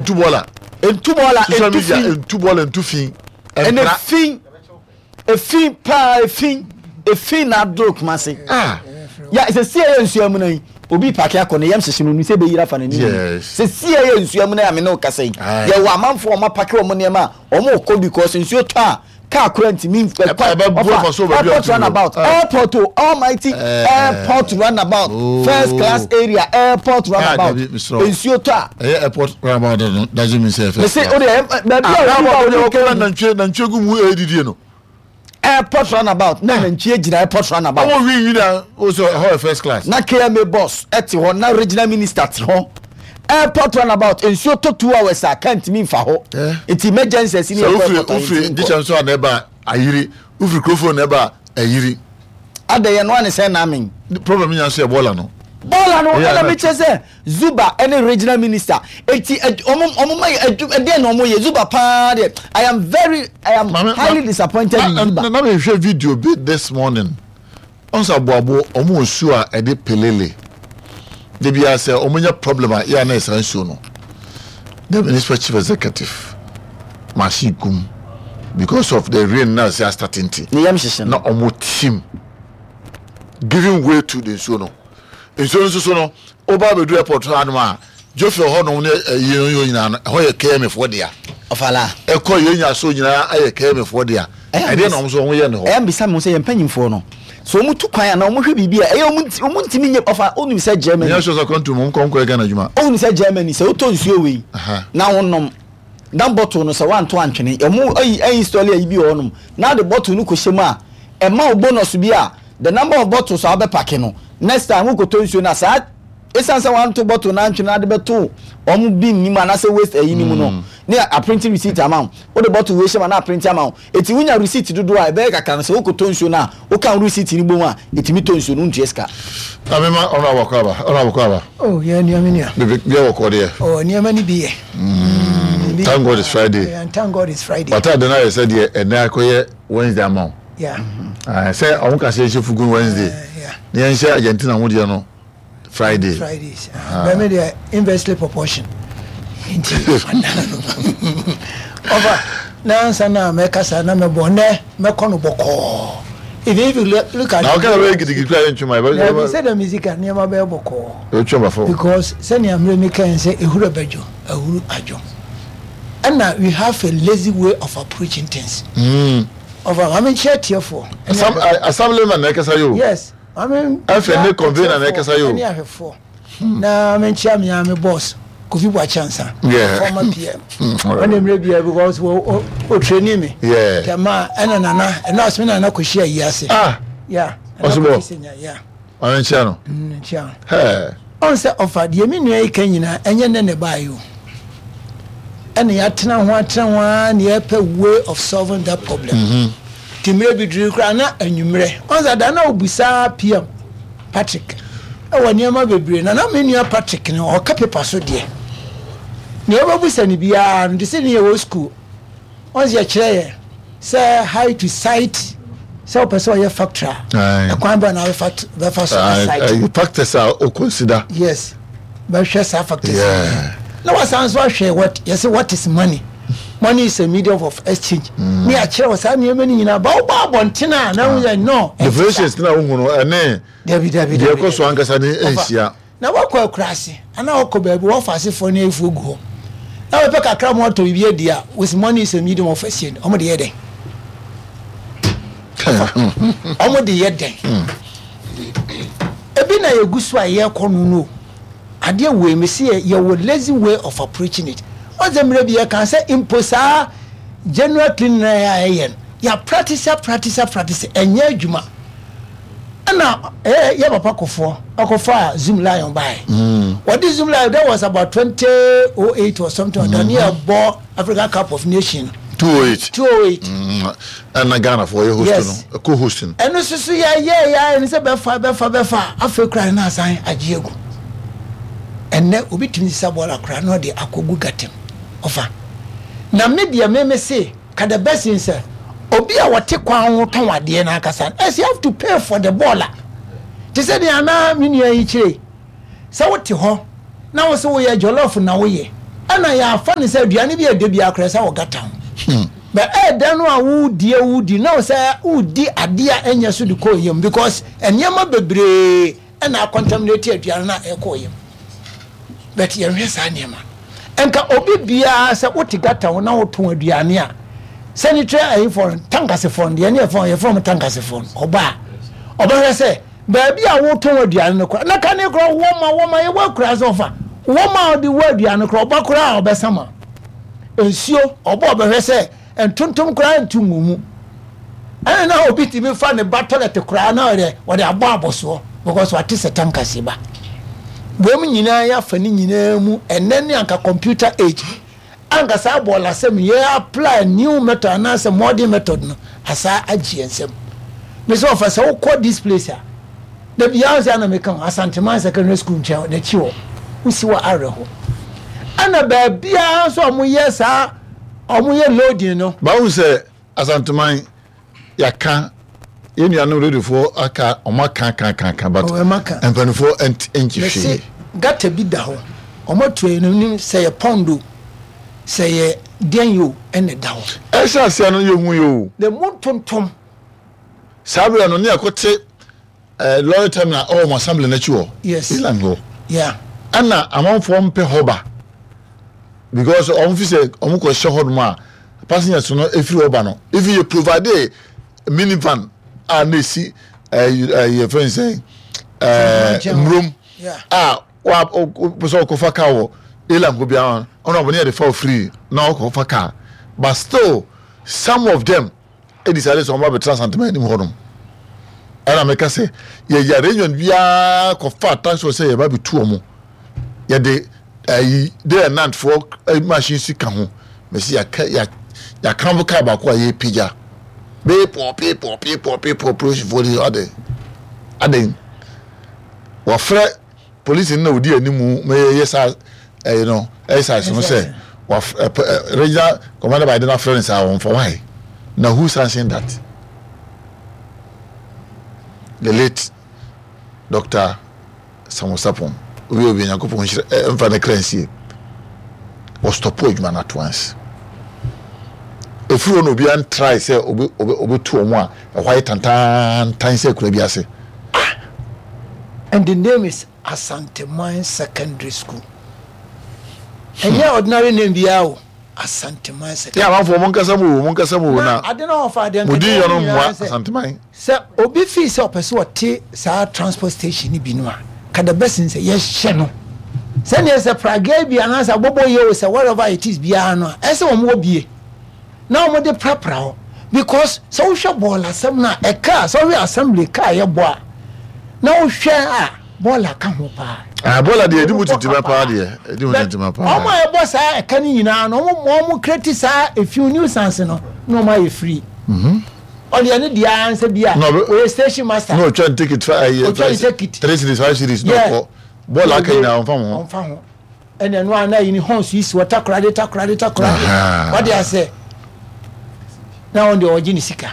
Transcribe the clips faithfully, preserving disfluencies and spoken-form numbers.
Ntu bɔɔla. Ntu bɔɔla. Social ntu media fi. Ntu bɔɔla, ntu fi. Ɛnɛ ɛmpra. Fi efi paa, efi efi na adoro Kumase. Ah. Ya sɛ si ɛyɛ nsuo mu na yi, obi park akɔ ne yam hyehyɛ no sɛ ebɛyira fa n'anim. Yes. Sɛ si ɛyɛ nsuo mu na yà mí ne o kasa yi, Aye. yɛ wɔ amanfoɔ ɔmo apark wɔn nneɛma a ɔmo kɔ because nsuo tɔ a, kaa kora ntumi. Ɛbɛ- ɛbɛbu afa so baabi a Airport ɔte roundabout. no. Ah. Airport o, almighty Eh. airport roundabout. Oh. First class area, airport roundabout. Dabi, mesrɛ wo. Nsuo tɔ a, ɛyɛ airport roundabout no doesn't mean sɛ mɛ sɛ o de ɛ baabi a obi ba roundabout obi de kɛ ɔkɔ nantwie nantwie gu mu edidie no. Airport roundabout na nantwie gyina airport roundabout. Ɔmo wi nwi na o sɛ ɛhɔ yɛ first class. Na K M A boss ɛte hɔ, na regional minister te hɔ. Airport roundabout, nsuo tɔ two hours a, kaa ntumi nfa hɔ. Eh. Nti emergency ɛsi ni Sɛ ɛkɔ wofiri airport a, wofiri yɛntumi nkɔ. dikyɛn so a na ɛba ayiri, wofiri kurofo na ɛba ayiri. Ada yɛn no ani sɛ naamin. Problem nya nso yɛ bɔɔla no. Bɔɔla no. Yeah, ɛna na- mi kyerɛ sɛ Zuba ɛne regional minister eti ɛ- ɔmo ɔmo ma yɛ ɛdu ɛdeɛ na ɔmo yɛ Zuba paa deɛ, I am very I am Maame- highly ma- disappointed in na Zuba. na na mehwɛ video bi this morning, ɔnsa aboabo ɔmo nsuo a ɛde pelele de bi sɛ ɔmo nya problem a yɛ a na ɛsa nsuo no, the municipal chief executive machine gum because of the rain na ɛsɛ astart nti. Ne yam hyehyɛ na no. Ɔmo team giving way to the nsuo no nsuo no nso so no, ɔba abɛdu airport hɔ anom a, jofi hɔ nom ne ɛyi no yɛ nyinaa no, ɛhɔ yɛ K M A foɔ dea. Ɔfala. Ɛkɔ yɛn nya so nyinaa ayɛ K M A foɔ dea. Ɛyɛ ɛdeɛ na ɔmo nso ɔmo yɛ ne hɔ. Ɛyɛ mbisa mi sɛ yɛn mpanyinfoɔ no so ɔmo tu kwan a na ɔmo hwɛ biribi a ɛyɛ ɔmo nti ɔmo ntumi nye ɔfa. Onim sɛ Germany nyɛ sɔ sɛ kɔntu mu nkɔ nkɔ Ghana adwuma. Onim sɛ Germany, sɛ wotɔ nsuo wei Aha. na wonom na bottle no sɛ wanto antwene, ɔmo ayi ayi install ayi bi wɔ hɔnom na de bottle no kɔhyɛ mu a, ɛma wo bonus bi a, the number of bottles a wobɛpark no, next time wokɔtɔ nsuo no a, saa ɛsiane sɛ wanto bottle no antwene na de bɛto ɔmo bin nim anaasɛ waste ayi no mu no, ne aprint receipt ama wo. Wode bottle wei hyɛ mu a, na aprint ama wo. Eti wonya receipt dodoɔ a ɛbɛyɛ kakra no, sɛ wokɔtɔ nsuo no a, woka wo receipt no bom a, ɛtumi tɔ nsuo no, wontua sika. Na mema ɔno abɔkɔ aba, ɔno abɔkɔ aba. Oh, yɛ nua, me nua. Bebe bia wɔkɔ deɛ. Oh, nneɛma no bi yɛ. Mm, bi Thank yɛ God it's paa. Friday. Yeah, thank God it's Friday. Wata de no ayɛ sɛ deɛ ɛnɛ akɔyɛ Wednesday ama wo. Yeah. Ah, sɛ ɔmo ka sɛ yɛnhyɛ fugu Wednesday Uh, yeah. na yɛnhyɛ Argentina ho deɛ no Friday. Fridays. But me deɛ, inversely proportion. Nti ɔfa na ansa na mɛkasa na mɛbɔ nɛ mɛkɔ no bɔkɔɔ. Even if you look, look at Na ɔka na bɛyɛ gidigidi kura yɛntwema. Na ebi sɛ dɛm sika nneɛma bɛyɛ bɔkɔɔ. Yɛbɛtwa ma fɔ. Because sɛnea mmerɛ mi kan sɛ ehuru bɛdwo, ehuru adwo, ɛna we have a lazy way of approaching things. Ɔfa maame nkyɛn tiefoɔ. Assemblyman na ɛkasa yi o. Yes, maame. Afei ne convener na ɛkasa yi o. Ɛne ahwɛfoɔ na menkyia me me boss Kofi Boakye Ansa, Yeah. former P M. Mm, ɔne mmerɛ bia because wɔ ɔtraining me. Yeah. Tɛma ɛna nana ɛna ɔsɛ me nana kɔhyia yi ase. Ah. Yeah, ɛna Ɔsebɔ. kɔsi sɛ nya, yeah. Maame nkyia no. Mm, nkyia no. Hɛɛ. Ɔn sɛ ɔfa deɛ me nua yi ka nyinaa, ɛnyɛ nɛ ne baayɛ o, ɛna yɛatena ho atena ho ara na yɛpɛ way of solving that problem. Nti mmerɛ bi duru koraa na anwummerɛ, ɔn sɛ da na obusaa P M Patrick ɛwɔ nneɛma bebree na na me nua Patrick no ɔka paper so deɛ nea ɔbɛbusa no biara no de sɛ ne yɛwɔ school, ɔn sɛ yɛkyerɛ yɛ sɛ how to cite, sɛ wopɛ sɛ ɔyɛ factory a, Aye. ɛkwan bɛ na wobɛfa bɛfa so asite. Factors a o consider. Yes, bɛhwɛ saa factors. Yeah. Na wasan so ahwɛ what yɛsɛ, what is money? Money is a medium of exchange. Ne akyerɛ wɔ saa nneɛma no nyinaa ba wobɔ abɔnten a na woyɛ no. Definitions na wohu no ɛne Dabi, dabi. deɛ Dabi. ɛkɔ so ankasa ne nhyia. Na wakɔ akuraase anaa wakɔ baabi wɔfa asefoɔ no afuo gu hɔ na wɔpɛ kakra ma wɔtɔ biribi adi a, with money is a medium of exchange, ɔmo de yɛ dɛn? Ɔmo de yɛ dɛn? Ebi na yɛgu so a yɛrekɔ no no adeɛ wei mi si yɛ yɛwɔ lazy way of approaching it. Ɔsɛ mmerɛ bi yɛka sɛ mpo saa general cleaning na yɛ a yɛyɛ no, yɛ practice, a practice, a practice, ɛnyɛ adwuma. Ɛna ɛyɛ yɛ papa Kofoɔ ɔkɔfa Zoomlion bae. Wɔde Zoomlion, that was about twenty oh eight or something like that, ne yɛ bɔ Africa Cup of Nation. Two oh eight. Two oh eight. Ɛna Ghana fo ɔyɛ host Yes. no, co hosting. Ɛno nso so yɛ yɛ yɛ ɛno sɛ bɛfa bɛfa bɛfa, afei kora no asan agye agu. Ɛnɛ obi tumi sisa bɔɔla kora na ɔde akɔgu gutter mu. Ɔfa na me deɛ, me me se ka the best thing sɛ obi a wɔte kwan ho tɔn adeɛ no ankasa no ɛsɛ have to pay for the bɔɔla, te sɛ deɛ anaa me nua yi kyerɛ sɛ wote hɔ na wo sɛ woyɛ jollof na woyɛ Ɛna yɛafa ne sɛ aduane bi a ɛda bi akora sɛ wɔ gutter ho. Bɛ ɛɛda no a wodie wodi na wo sɛ wodi adeɛ a ɛnyɛ so de kɔɔ yam, because nneɛma bebree ɛna acontaminate aduane no a ɛkɔɔ yam. But yɛnhwɛ saa nneɛma nka obi biara sɛ wote gutter ho na wotɔn aduane a, sanitary ayifoɔ no, tankasefoɔ no deɛ ne yɛfrɛ yɛfrɛ mo tankasefoɔ no, ɔba a ɔbɛhwɛ sɛ baabi a wotɔn aduane no kora na kane kora wɔma wɔma yɛwɔ akura sɛ ɔfa wɔma a ɔde wɔ aduane kora, ɔba kora a ɔbɛsama nsuo, ɔbɔ ɔbɛhwɛ sɛ ntontom koraa ntu ngu mu. Ɛna na obi tumi fa ne ba toilet koraa na ɔde wɔde abɔ abɔsoɔ because wate sɛ tankase ba wɔn nyinaa. Yɛafa ne nyinaa mu ɛnɛ ne anka computer age, anka saa bɔɔla asɛm yɛ apply new method anaasɛ modern method no asa agye yɛn nsam. Mesɛ ɔfa sɛ wokɔ this place a, da biara sɛ ana meka ho Asanteman Secondary School nkyɛn n'akyi hɔ, wosi wɔ awerɛho, ɛna baabiara nso a wɔyɛ saa, wɔyɛ loading no. Báwo sɛ Asanteman yɛaka, yɛn nuanom radiofoɔ aka, ɔmo aka aka aka aka, but Oh, ɛma ka. mpanimfoɔ ɛnt ɛnkyi mɛse hwee. Gutter bi da hɔ, ɔmo atu ayi no nim sɛ yɛ pond o, sɛ yɛ deɛn yi o, ɛna ɛda hɔ. Ɛhyɛ aseɛ no yɛhu yɛ o. Na mu ntontom. Saa berɛ no ne yɛkɔte ɛɛ lorry terminal ɛwɔ ɔmo assembly n'akyi hɔ. Yes. Island hɔ. Yeah ɛna amanfoɔ mpɛ hɔ ba because ɔmo fi sɛ ɔmo kɔ hyɛ hɔ nom a, passengers no efiri hɔ ba no, if yɛ provide minivan a na esi ɛɛ ɛɛ yɛ fɛn sɛ ɛɛ nkyɛn hɔ. Mmurom Yeah. a wa o pɛ sɛ ɔkɔfa car wɔ elam hɔ biara, ɔno ɔbɛn yɛ de fa free na ɔkɔfa car, but still some of them e decide sɛ ɔmo abɛtena Asanteman anim hɔ nom. Ɛna meka sɛ yɛyɛ arrangement biara kɔfa taxi sɛ yɛba bɛtu ɔmo, yɛde ɛyi day and night foɔ ɛyi machine si ka ho mɛsi yɛaka yɛ yɛakamfo car baako a yɛpagya peepɔ peepɔ peepɔ peepɔ. Polisifoɔ de ade ade wɔfrɛ polisi no na odi anim ma yɛyɛ saa ɛyi no exercise no sɛ waf ɛ ɛ regional commander by den afrɛ no saa wɔn fa why na who sanction that? The late Doctor Samuel Sapon, obi obi Nyankopɔn nhyira ɛ mfa ne kra nsie, wɔstop adwuma no at once. Efiri hɔ na obiara ntry sɛ obi obi obetu wɔn a ɛhɔ ayɛ tantantan sɛ akura bi ase. And the name is Asanteman Secondary School. Ɛnyɛ ordinary name biara o, Asanteman yɛ Secondary. Amanfoɔ mo nkasa mu o, mo nkasa mu o. Na na ade na ɔfa adeɛ mo din yɛ no nyinaa mmoa sɛ Asanteman. Sɛ obi fii sɛ ɔpɛ sɛ ɔte saa transport station no bi no a, ka the best sɛ yɛhyɛ no sɛneɛ sɛ pragea bi anaasɛ abɔbɔ yɛ o, sɛ whatever it is biara no a, ɛsɛ wɔn wɔ bie na wɔn de prapra hɔ, because sɛ wohwɛ bɔɔl asɛm no a, ɛka sɛ wohwɛ assembly kaa yɛ bɔ a, na wohwɛ a, bɔɔl aka ho paa. Ah, bɔɔla deɛ ɛdi mu tintima paa deɛ, ɛdi mu tintima paa. Ɔmo a ɛbɔ saa ɛka no nyinaa no, ɔmo ɔmo create saa efi nuisance no na ɔmo ayɛ free. Ɔde ɛne deɛ ansa bi a Na ɔbɛ- ɔyɛ station master. Na ɔtwa ne ticket fa ɛyɛ Ɔtwa ne ticket. three cedis, five cedis na Yeah. ɔkɔ bɔɔla aka nyinaa ɔnfa ho. Ɔnfa ho. Ɛna ɛno a na yi ni horns yi si wɔ Takoradi, Takoradi, Takoradi. Aha. Ɔde asɛ na wɔn deɛ ɔgye ne sika,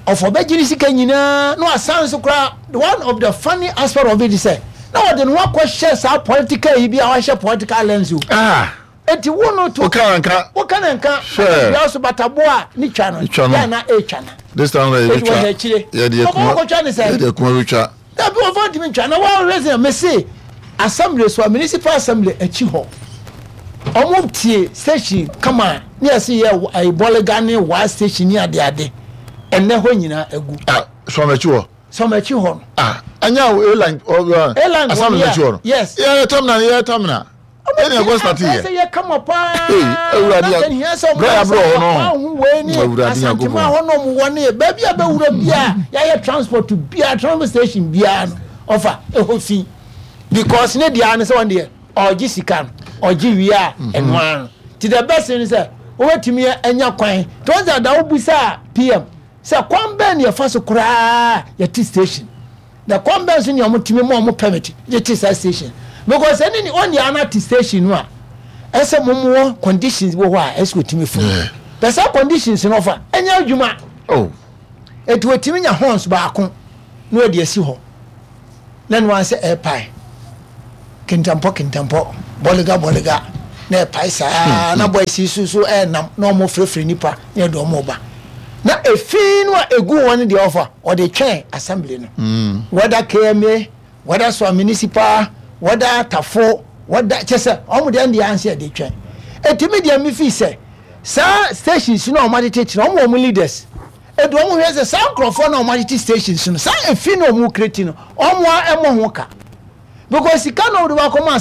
ɔfɔ bɛgye ne sika nyinaa na wasan so koraa. One of the funny aspect of it is sɛ na wɔde ne ho akɔhyɛ saa political yi bi a wahyɛ political lens o. Ah. Eti wo no to woka na nka. Woka na nka. Sure. Bia so batabo a ne twa no. Ne twa no. Yɛ na etwa na This time na eti yɛbɛtwa. wɔhwɛ akyire. Yɛde Ɔbɔ akuma wɔkɔtwa ne sɛ yɛde akuma bɛtwa. Dabi, wɔfa ntumi ntwa na wɔahwɛ sɛ mese assembly so a, municipal assembly akyi hɔ, ɔmo tie station kama ne yɛsi yɛ ayi bɔlega ne waa station ne adeade, ɛnɛ hɔ nyinaa agu. Ah, sɔn akyi hɔ. Sɔm akyi hɔ no. Ah, anya airline ɔ Airline hɔ assembly no, akyi hɔ no. Yes. Yɛ terminal, yɛ terminal ɛna ɛkɔ start yɛ. Ɛsɛ yɛ kama paa. Hey, Awurade. Na sɛ hia sɛ ɔmo Brɛ abrɛ hɔ no. ɔho wei ne Awurade. Asantema Nyankopɔn. hɔ nom wɔ ne baabi a bɛwura bia yɛayɛ transport bia, transport station biara no, ɔfa ɛhɔ fi because ne deɛ ne sɛ wɔn deɛ ɔgye sika no, ɔgye wie a, ɛnoa no ti. The best thing sɛ wobɛtumi anya kwan tí wɔn sɛ da wobusa P M sɛ kwan bɛn ne yɛfa so koraa yɛte station, na kwan bɛn so ne ɔmo tumi ma ɔmo permit de te saa station, because ɛne ne ɔne ana te station no a, ɛsɛ mo mo wɔ conditions wɔ hɔ a ɛsɛ otumi fo Yeah. pɛ saa conditions no ɔfa ɛnyɛ adwuma. Oh. Etu otumi nya horns baako na ɔde asi hɔ na no ansɛ ɛɛpae kentampɔ kentampɔ, bɔlega bɔlega. Na ɛpae saa na boys yi so so ɛnam na ɔmo frɛfrɛ nipa na yɛde ɔmo ba na efi no a egu wɔn no deɛ, ɔfa ɔde twɛn assembly no, whether K M A, whether so municipal, whether Tafo, whether kyɛ sɛ ɔmo deɛ deɛ ansi yɛde twɛn. Etimi deɛ mi fi sɛ saa stations no a ɔmo atete kyerɛ ɔmo, wɔn leaders edu ɔmo hwɛ sɛ saa nkurɔfoɔ na ɔmo atete stations no, saa efi na ɔmo create no, ɔmo a ɛmo ho ka, because sika na ɔde wakɔma.